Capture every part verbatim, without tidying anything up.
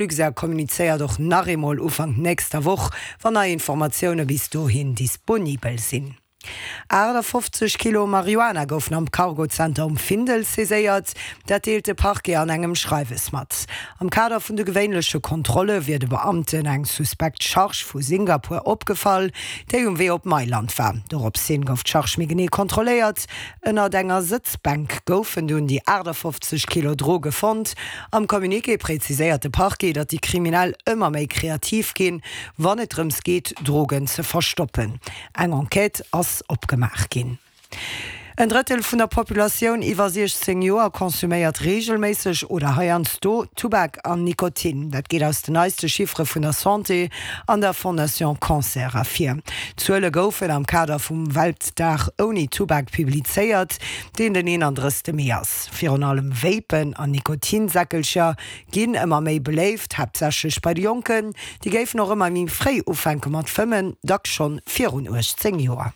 Luxair kommunizéiert och nach eemol Ufank nächster Woch, wann nei Informatioune bis dohin disponibel sinn. achtafofzeg Kilo Marihuana goufen am Cargo-Zenter um Findel saiséiert. Dat deelt de Parquet an engem Schreiwes mat. Am Kader vun de gewéinleche Kontrolle wier de Beamten eng suspekt Charge vu Singapur opgefall, déi um Wee op Mailand war. Dorops hin gouf d'Charge méi genee kontrolléiert. Ënnert enger Sëtzbänk goufen dunn déi achtafofzeg Kilo Droge fonnt. Am Communiqué präziséiert de Parquet, datt déi Kriminell ëmmer méi kreativ ginn, wann et drëms geet, Drogen ze verstoppen. Eng Enquête ass opgemaach ginn. En Drëttel vun der Populatioun iwwer siechzéng Joer konsuméiert reegelméisseg oder heiansdo Tubak an Nikotin. Dat geet aus den neiste Chiffere vun der Santé an der Fondation Cancer ervir. D'Zuele goufen am Kader vum Weltdag ouni Tubak publizéiert, deen den eenandrëssegste Mee ass. Virun allem Vapen an Nikotinsäckelcher ginn ëmmer méi beléift, haaptsächlech bei de Jonken. Déi géifen och ëmmer méi fréi ufänke mat fëmmen, dacks schonn virun uechtzéng Joer.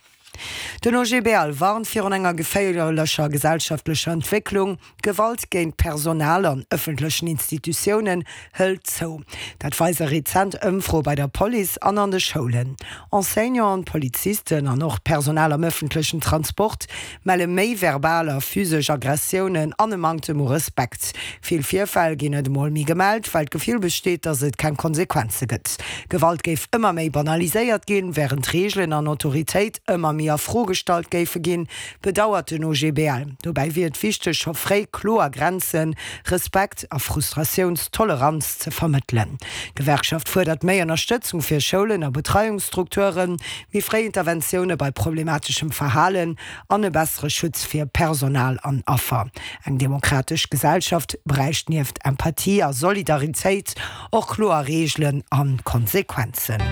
Den O G B L warnt virun enger geféierlecher gesellschaftlecher Entwécklung. D'Gewalt géint Personal an ëffentlechen Institutiounen hëlt zou. Dat weise rezent Ëmfroe bei der Police an an de Schoulen. Enseignanten, Polizisten an och d'Personal am ëffentlechen Transport melle méi verbal a physesch Aggressiounen an e Manktem u Respekt. Vill Virfäll ginn net emol méi gemellt, well d'Gefill besteet, datt et keng Konsequenze gëtt. Gewalt géif ëmmer méi banaliséiert ginn, wärend Reegelen an Autoritéit ëmmer méi a Fro gestallt géife ginn, bedauert den O G B L. Dobäi wier et wichteg, scho fréi kloer Grenzen, Respekt a Frustratiounstoleranz ze vermëttelen. D'Gewerkschaft fuerdert méi Ënnerstëtzung fir Schoulen a Betreiungsstrukturen, méi fréi Interventioune bei problemateschem Verhalen an e bessere Schutz fir Personal an Affer. Eng demokratesch Gesellschaft bräicht nieft Empathie a Solidaritéit och kloer Reegelen a Konsequenzen.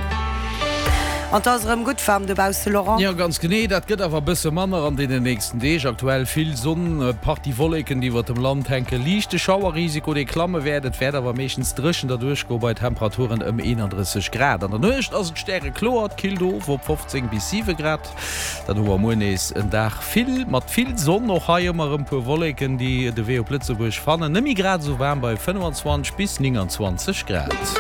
An 't ass erëm gutt waarm dobausse, Laurent. Jo, ganz genee. Dat gëtt awer e bësse manner an deenen nächsten Deeg. Aktuell vill Sonn, e Partie Wolleken, déi iwwert dem Land hänken, liichte Schauerrisiko, dee klamme wäert. Et wäert awer meeschtens dréchen derduerch goe bei Temperaturen ëm eenandrësseg Grad. An der Nuecht ass et stärekloer, et killt of op fofzéng bis siwe Grad. Dann hu mer muer nees en Dag vill mat vill Sonn, och hei ëmmer erëm puer Wolleken, déi de Wee op Lëtzebuerg fannen. Net méi grad esou waarm bei fënnefenzwanzeg bis nénganzwanzeg Grad.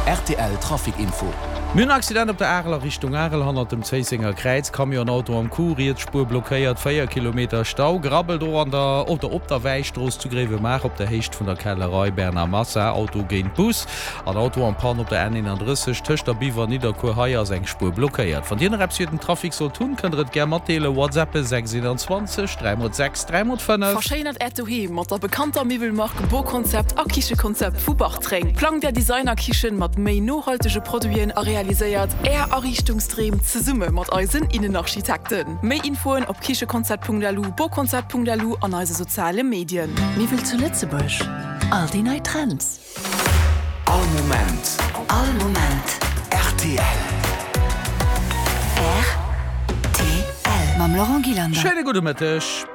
R T L Trafic Info. Mir hunn en Accident op der Arel a Richtung Arel hannert dem Zéissenger Kräiz. Camion Auto am Coup, riets Spuer blockéiert, véier Kilometer Stau. Grabbelt och an der oder op der Wäistrooss zu Gréiwemaacher op der Héicht vun der Kellerei Bernard Massa, Auto géint Bus an Auto en panne op der N eenandrësseg tëscht der Biwer an Nidderkuer. Hei ass eng Spuer blockéiert. Wann Dir nach eppes fir den Trafic sollt hunn, kënnt der et gär matdeelen. WhatsAppen sechs eenanzwanzeg dräi mol sechs dräi mol fënnef. Verschéinert Äert Doheem mat der bekannter Miwwelmark Boconcept a Kichekonzept vu Bartreng. Plangt Är Designer-Kichen mat méi nohaltege Produiten a realiséiert Är Ariichtungsdreem zesumme mat eisen Innenarchitekten. Méi Infoen op kichekonzept Punkt L U, boconcept Punkt L U an eise soziale Medien. Miwwel zu Lëtzebuerg, all déi nei Trends. All Moment. All Moment. R T L. R T L. Mam Laurent Gillander. Schéine gudde Mëtteg.